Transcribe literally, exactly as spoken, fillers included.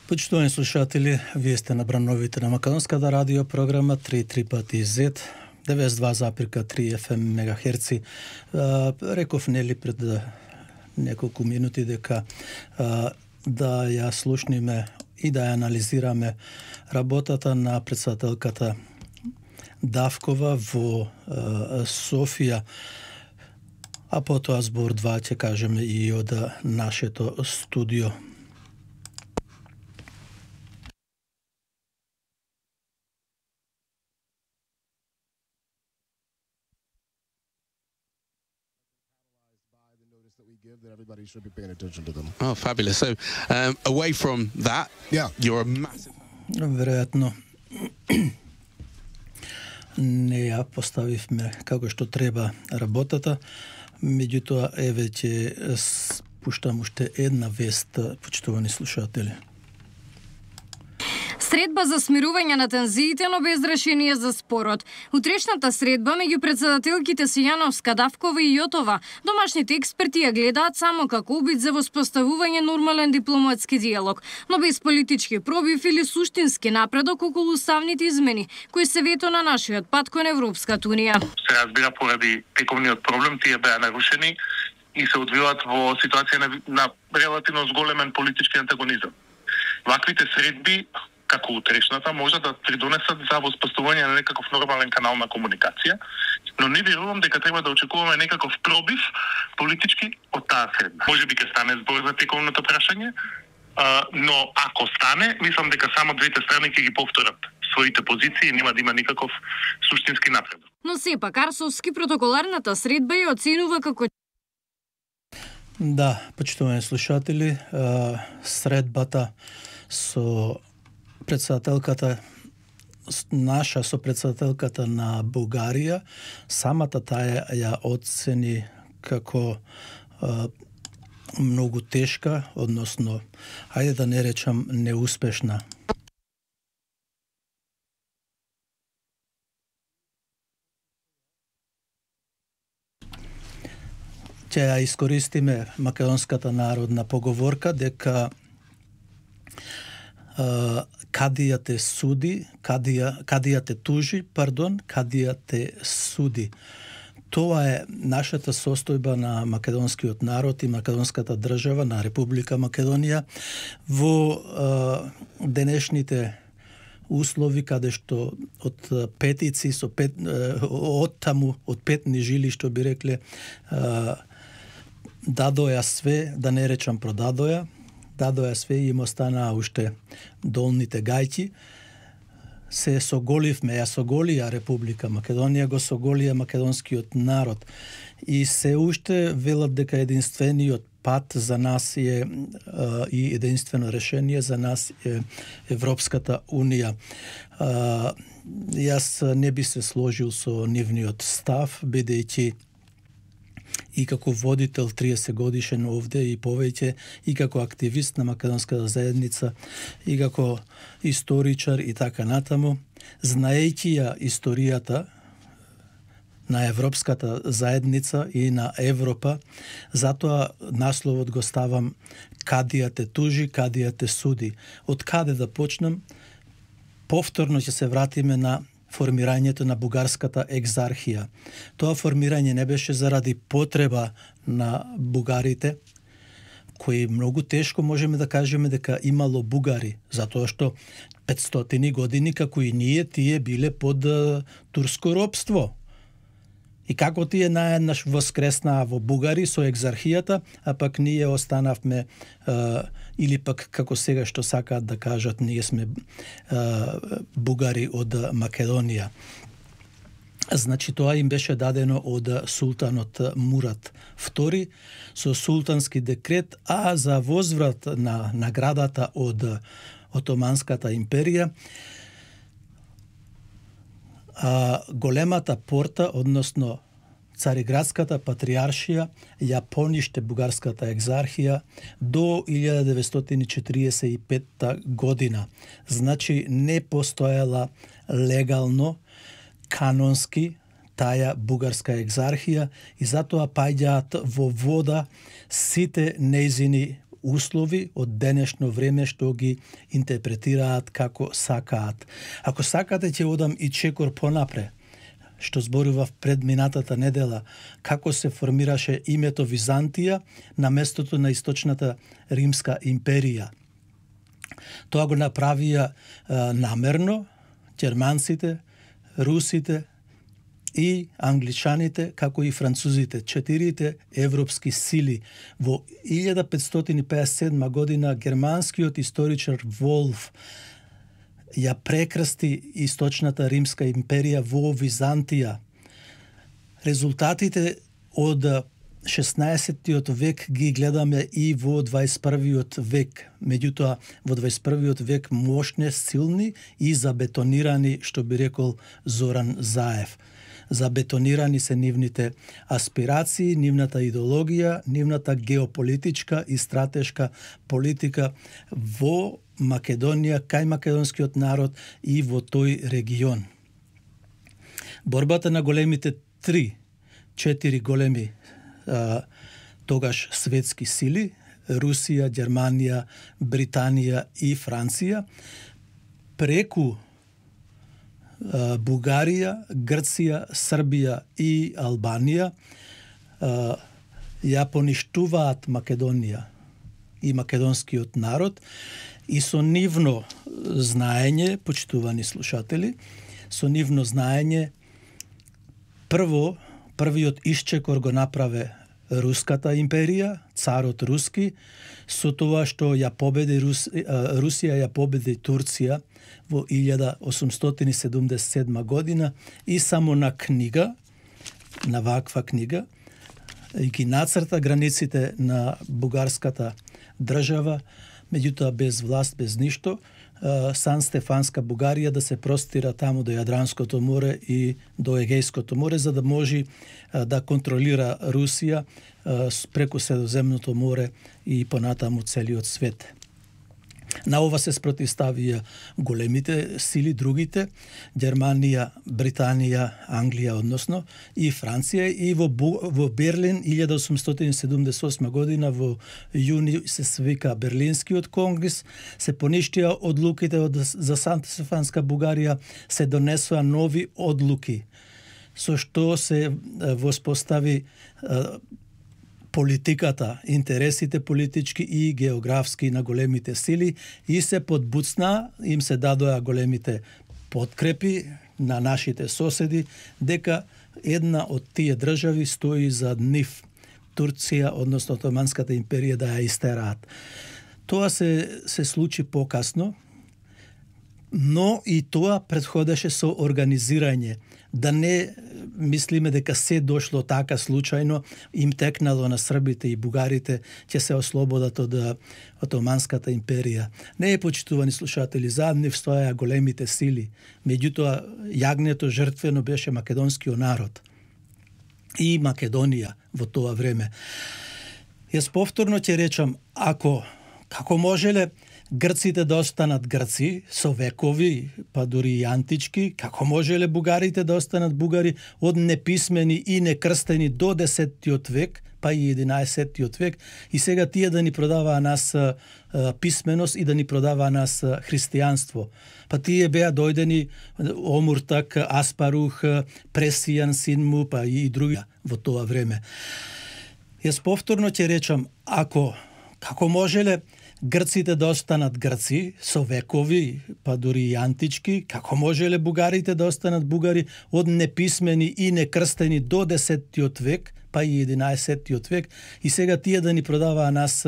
Почитувани слушатели, вие сте на брановите на Македонската радио програма три три пати Z, деветдесет и два запирка три Ф М мегахерци. Реков нели пред неколку минути дека а, да ја слушниме и да ја анализираме работата на председателката Давкова во а, Софија, а потоа збор два ќе кажеме и од нашето студио. That everybody should be paying attention to them. Oh, fabulous. So, um, away from that, yeah, you're a massive... Веројатно не ја поставивме како што треба работата, меѓутоа еве ќе спуштам уште една вест, почитувани слушатели. Средба за смирување на тензиите, но без решение за спорот. Утрешната средба меѓу председателките Сијановска, Давкова и Јотова, домашните експерти ја гледаат само како обид за воспоставување нормален дипломатски диалог, но без политички пробив или суштински напредок околу уставните измени, кои се вето на нашиот пат кон Европската унија. Се разбира, поради тековниот проблем, тие беа нарушени и се одвиваат во ситуација на, на релативно зголемен политички антагонизам. Ваквите средби, како утрешната, може да придонесат за воспоставување на некаков нормален канал на комуникација, но не верувам дека треба да очекуваме некаков пробив политички од таа средба. Може би ќе стане збор за тековното прашање, но ако стане, мислам дека само двете страни ќе ги повторат своите позиции и нема да има никаков суштински напредок. Но сепак Арсовски протоколарната средба ја оценува како... Да, почитувани слушатели, средбата со председателката наша со председателката на Бугарија, самата таа ја оцени како а, многу тешка, односно, ајде да не речам неуспешна. Ќе ја искористиме македонската народна поговорка дека Uh, кадија те суди, кадија, кадија те тужи, пардон, кадија те суди. Тоа е нашата состојба на македонскиот народ и македонската држава, на Република Македонија, во uh, денешните услови, каде што од петици, со пет, uh, од таму, од петни жили, што би рекле, uh, дадоја све, да не речам продадоја, дадоја све и им останаа уште долните гајки. Се соголивме, ја соголија Република Македонија, го соголија македонскиот народ. И се уште велат дека единствениот пат за нас е и единствено решение за нас е Европската унија. Јас не би се сложил со нивниот став, бидејќи и како водител триесет годишен овде и повеќе, и како активист на македонската заедница, и како историчар и така натаму, знаејќи ја историјата на Европската заедница и на Европа, затоа насловот го ставам кадија те тужи, кадија те суди. Од каде да почнам? Повторно ќе се вратиме на формирањето на бугарската екзархија. Тоа формирање не беше заради потреба на бугарите, кои многу тешко можеме да кажеме дека имало бугари, затоа што петстотини години, како и ние, тие биле под турско робство. И како тие наеднаш воскреснаа во бугари со екзархијата, а пак ние останавме, е, или пак како сега што сакаат да кажат, ние сме е, бугари од Македонија. Значи тоа им беше дадено од султанот Мурат втори со султански декрет, а за возврат на наградата од Отоманската империја, а, големата порта, односно Цариградската патриаршија, ја пониште бугарската екзархија до илјада деветстотини четиридесет и петта година. Значи не постоела легално, канонски таа бугарска екзархија и затоа паѓаат во вода сите нејзини услови од денешно време што ги интерпретираат како сакаат. Ако сакате ќе одам и чекор понапре, што зборував пред минатата недела, како се формираше името Византија на местото на источната Римска империја. Тоа го направија а, намерно ѓерманците, русите и англичаните, како и французите, четирите европски сили. Во илјада петстотини пеесет и седма година германскиот историчар Волф ја прекрсти источната Римска империја во Византија. Резултатите од шеснаесеттиот век ги гледаме и во дваесет и првиот век. Меѓутоа, во дваесет и првиот век мощни, силни и забетонирани, што би рекол Зоран Заев. Забетонирани се нивните аспирации, нивната идеологија, нивната геополитичка и стратешка политика во Македонија, кај македонскиот народ и во тој регион. Борбата на големите три, четири големи а, тогаш светски сили, Русија, Германија, Британија и Франција, преку а, Бугарија, Грција, Србија и Албанија а, ја поништуваат Македонија и македонскиот народ, и со нивно знаење, почитувани слушатели, со нивно знаење, прво, првиот исчекор го направе Руската империја, царот Руски, со тоа што ја победи Рус, Русија ја победи Турција во илјада осумстотини седумдесет и седма година и само на книга, на ваква книга, и ги нацрта границите на бугарската држава, меѓутоа без власт, без ништо, Сан Стефанска Бугарија да се простира таму до Јадранското море и до Егејското море, за да може да контролира Русија преку Средоземното море и понатаму целиот свет. На ова се спротивставија големите сили, другите, Германија, Британија, Англија, односно, и Франција, и во, во Берлин, илјада осумстотини седумдесет и осма година, во јуни се свика Берлинскиот конгрес, се поништија одлуките од, за Санта Стефанска Бугарија, се донесоа нови одлуки, со што се воспостави политиката, интересите политички и географски на големите сили и се подбуцна, им се дадоа големите подкрепи на нашите соседи, дека една од тие држави стои за нив, Турција, односно Отоманската империја, да ја истераат. Тоа се, се случи покасно, но и тоа претходеше со организирање. Да не мислиме дека се дошло така случајно, им текнало на србите и бугарите, ќе се ослободат од Отоманската империја. Не е, почитувани слушатели, зад нив стоја големите сили. Меѓутоа, јагнето жртвено беше македонскиот народ и Македонија во тоа време. Јас повторно ќе речам, ако, како можеле грците да останат грци со векови, па дури и антички, како можеле бугарите да останат бугари од неписмени и некрстени до десеттиот век, па и единаесеттиот век, и сега тие да ни продаваа нас а, писменост и да ни продаваа нас а, христијанство. Па тие беа дојдени Омуртак, Аспарух, Пресијан, Синму, па и други во тоа време. Јас повторно ќе речам, ако, како можеле грците да останат грци со векови, па дури и антички, како можеле бугарите да останат бугари од неписмени и некрстени до десеттиот век, па и единаесеттиот век, и сега тие да ни продаваа нас